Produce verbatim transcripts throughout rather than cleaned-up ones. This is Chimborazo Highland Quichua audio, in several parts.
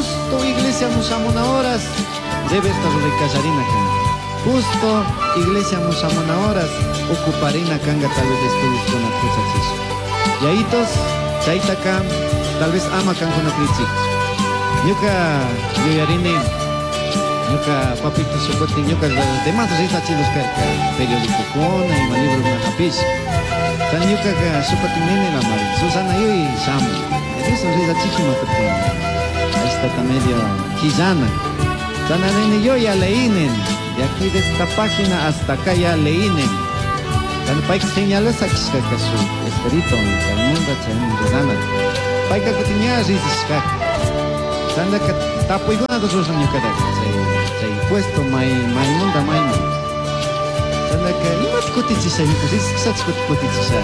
Justo iglesia mushamuna horas debe estar ruray kan. Justo iglesia mushamuna horas ocuparina kanga tal vez estudios con huchachishpa. Yayitos chaytaka tal vez ama kankuna krichik. Ñuka yuyarini ñuka papito shukutin ñuka demás rizachilos karka periódico kuna ima librokuna hapishpa. Chay ñukaka shukutin nini lamari Susana yuy shamuy. Eso rizachijima kutin. Ahí medio quillana. Chana nini yo ya leí nini. De aquí de esta página hasta acá ya leí nini. Chana payka señales sakishkaka shuk esperito chaymanta chayman rizana. Payka kutin ña rizishkaka. Chandaka tapuykunata ruran ñukataka chay chay puesto may maymanta mayman. Chandaka imata kutichisha ñuka rizishkacha kutichisha.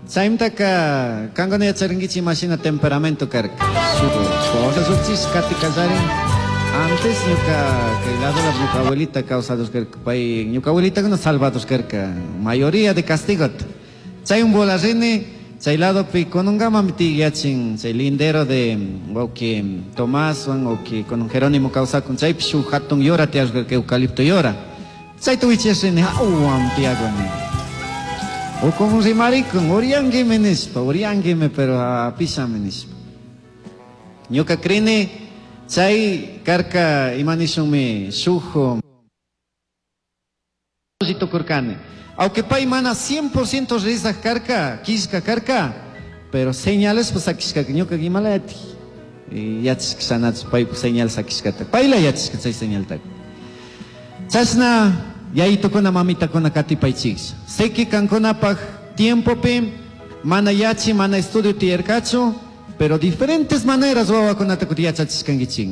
Chaymantaka kankuna yacharinkichik imashina temperamento karka. Shuk cosa shukchish kati kallarin. Antes ñuka kay lado la ñuka abuelita kawsados karka pay ñuka abuelita salvados karka mayoría de castigota. Chay un rini chay ladopi kununkamami tiyachin chay lindero de wawqi Tomás wan wawqi kunun Jerónimo kawsakun chaypi shuk hatun yora tiyashka eucalipto yora. Chayta wichashrini hawan tiyakuni. O como rimarikun uriyanguimi nishpa uriyanguimi pero apishami nishpa. Ñuka krini chay karka ima nishunmi shuk tukurkani. Aunque pay mana cien por ciento rizaj karka, kishka karka, pero señales pues sakishkaka ñuka imalati. Yachashkashanachu paypuk señal sakishkata. Payla yachashka chay señaltaka. Chashna yayitukuna mamitakuna katipaychik. Sé que kankunapaj tiempopi mana yachi, mana estudio tiyarkachu, pero diferentes maneras wawakunata kuti yachachishkankichik.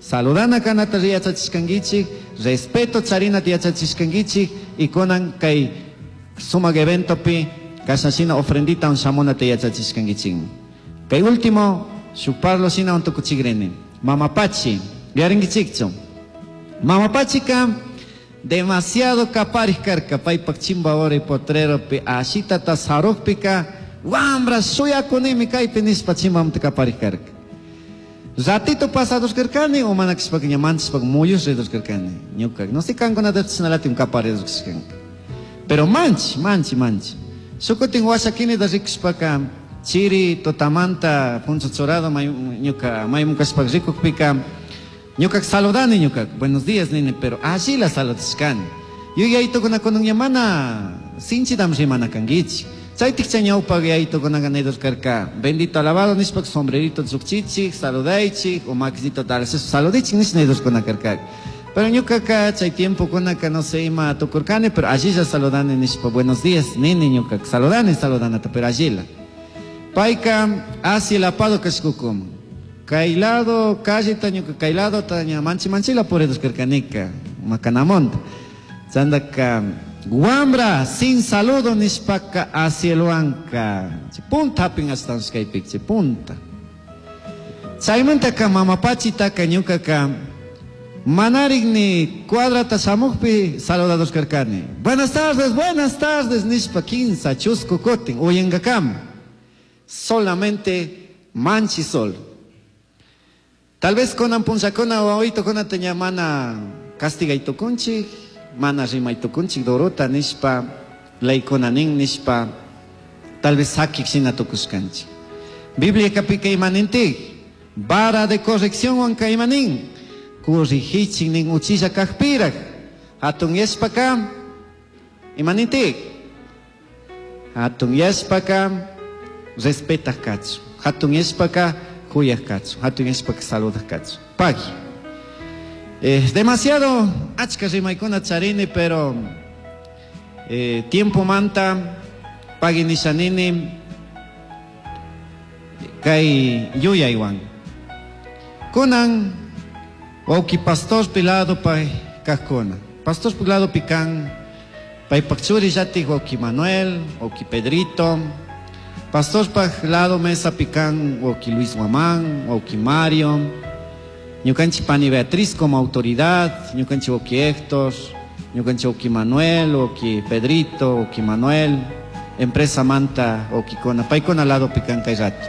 Saludana kanata yachachishkankichik, respeto charinata yachachishkankichik, y kunan kay sumak eventopi kashashina ofrendita un shamunata yachachishkankichik. Kay último, shuk parlo shina untukuchikrini. Mama Pachi, yarinkichikchu. Mama Pachika demasiado kaparij karka paypak chimba potreropi ashitata sarukpika wambra shuyakunimi kaypi nishpa chimbamanta kaparij karka. Ratito pasados karkani o mana kashpaka ña manchashpaka muyush ridos karkani ñuka no sé kankunata chashnalatik kaparidos kashkanka. Pero manchi, manchi, manchi. Shukutin washakinita rikushpaka chiri tutamanta puncho churado may, ñuka maymun kashpaka rikukpika ñuka saludani ñuka buenos días nini pero allila saludashkani. Yuyaytukuna kunan ña mana sinchitam rimana kankichik. Chaytik chay ñawpak yayitukunaka nidos karka bendito alabado nishpaka sombrerito llukchichik saludaychik o makisito darse saludichik nish nidoskuna karka. Pero ñukaka chay tiempo kunaka no sé ima tukurkani pero allilla saludani nishpa buenos días nini ñuka saludani saludanata pero allila. Payka hacia el apado kashkukuman. Kay lado calle ñuka kay lado taña manchi manchila puridos karkanika macanamonta. Chandaka guambra sin saludo nishpaka hacia el huanca. Punta hapin hasta kaypik punta. Chaymantaka mama pachitaka ñukaka manarik ni cuadrata shamukpi saludados karkani. Buenas tardes, buenas tardes nishpa kinsa chusku kutin uyankakama. Solamente manchi sol. Tal vez kunan punllakuna wawaytukunata ña mana castigaytukunchik, mana rimaytukunchik dorota nishpa, leykuna nin nishpa, tal vez sakik shina tukushkanchik. Biblia kapika imanintik, vara de corrección wanka imanin, corrigichik nin uchilla kajpirak, hatun yashpaka, imanintik, hatun yashpaka, respetaj kachu, hatun yashpaka, kuyaj kachu, hatun yashpaka saludak kachu. Pagui. Eh, demasiado achka rimaykuna charini, pero eh, tiempo manta pagui nishanini kay yuyaywan. Kunan wawqi pastor pilado pay kajkuna. Pastor pilado pikan paypak churi llatik wawqi Manuel, wawqi Pedrito. Pastor paj lado mesa pikan wawqi Luis Guamán, wawqi Mario. Ñukanchik pani Beatriz como autoridad, ñukanchik wawqi Héctor, ñukanchik wawqi Manuel, wawqi Pedrito, wawqi Manuel, empresa manta wawqikuna, paykuna lado pikan kay rato.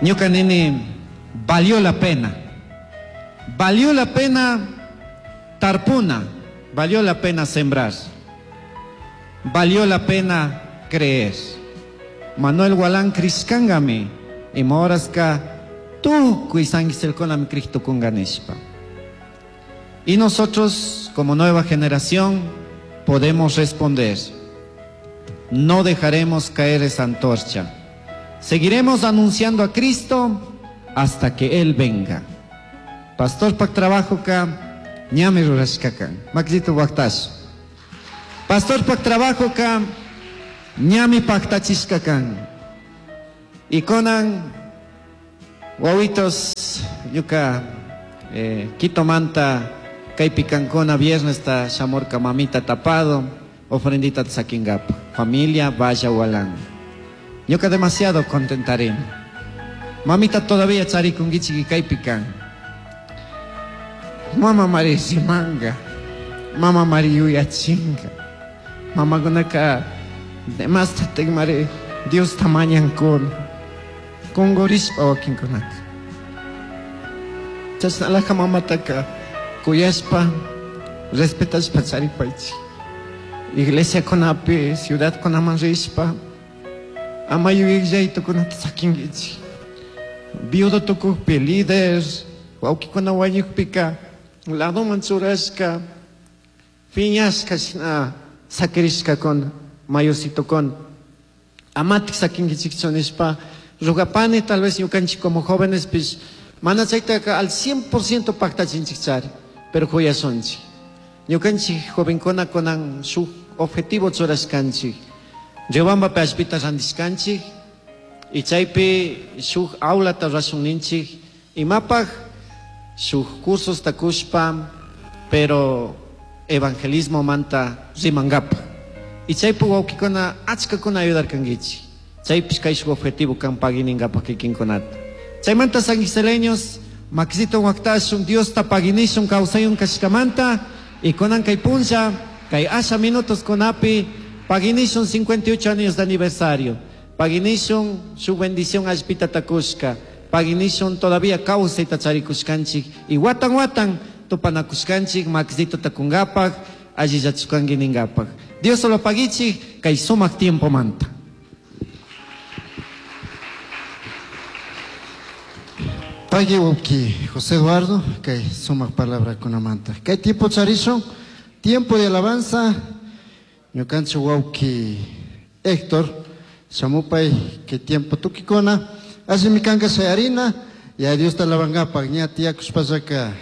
Ñuka nini valió la pena. Valió la pena tarpuna, valió la pena sembrar. Valió la pena creer. Manuel Gualán crishkangami ima horaska tukuy sanguiselkunami krij nishpa. Y nosotros, como nueva generación, podemos responder. No dejaremos caer esa antorcha. Seguiremos anunciando a Cristo hasta que Él venga. Pastor pak trabajo ka ñami rurashkakan. Makisito waktash. Pastor pak trabajo ka ñami paktachishkakan. Y kunan wawitos ñuka eh, Quitomanta kaypi kankuna viernes ta shamurka mamita tapado ofrendita sakingapa. Familia vaya Gualán. Ñuka demasiado contentarini. Mamita todavía charikunkichik kaypi kan. Mama María manga. Mama María yuyachinga. Mamakunaka demas mari Dios tamañankuna. Kungurishpa wakinkunaka. Chashnalaja mamataka kuyashpa respetashpa charipaychik. Iglesia kunapi, ciudad kunaman rishpa ama yuyaytukunata sakinkichik. Viudo tukukpi líder, wawkikuna wañukpika ladoman churashka, piñashka shina sakirishkakuna, mayorcitokuna. Amatik sakinkichikchu nishpa rugapani tal vez ñukanchik como jóvenes pish mana chaytaka al cien por ciento paktachinchik chari, pero kuyashunchik. Ñukanchik jovenkuna kunan shuk objetivo churashkanchik. Riobambapi allpita rantishkanchik y chaypi shuk aulata rurashun ninchik imapaj shuk cursos takushpa, pero evangelismo manta rimankapaj. Y chaypi wawkikuna achkakuna ayudarkankichik. Chaypish kay shuk objetivo kan pagininkapaj kikinkunata. Chaymanta sanguiseleños, makisito waktashun, Dios ta paginishun kawsayun kashkamanta, y kunan kay punlla, kay asha minutos kunapi, paginishun cincuenta y ocho años de aniversario. Paginishun su bendición allpita takushka. Paginishun todavía kawsayta charikushkanchik. Y watan watan tupanakushkanchik, makisito takunkapaj, allillachuskanki ninkapaj. Dios solo pagichik, kay sumak tiempo manta. Pagui wawki José Eduardo, kay sumak palabra kunamanta. Kay tiempo charishun, tiempo de alabanza, ñukanchik wawki Héctor, shamupay kay tiempo tukikuna, allimi kanka shayarina, ya Dios ta alabangapak, ña tiyakushpallaka,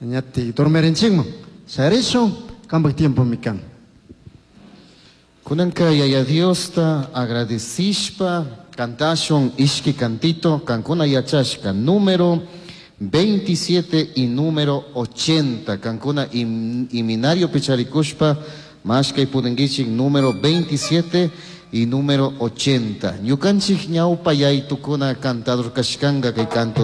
ña ti dormirinchikman. Shayarishun, kampak tiempo mikan. Kunanka yaya Diosta agradecishpa, cantashun ishki cantito, kankuna yachashka, número veintisiete y número ochenta, kankuna im-, iminario picharikushpa, mashkay pudenguichik, número veintisiete y número ochenta. Ñukanchik ñawpa yaytukuna cantador kashkanga kay canto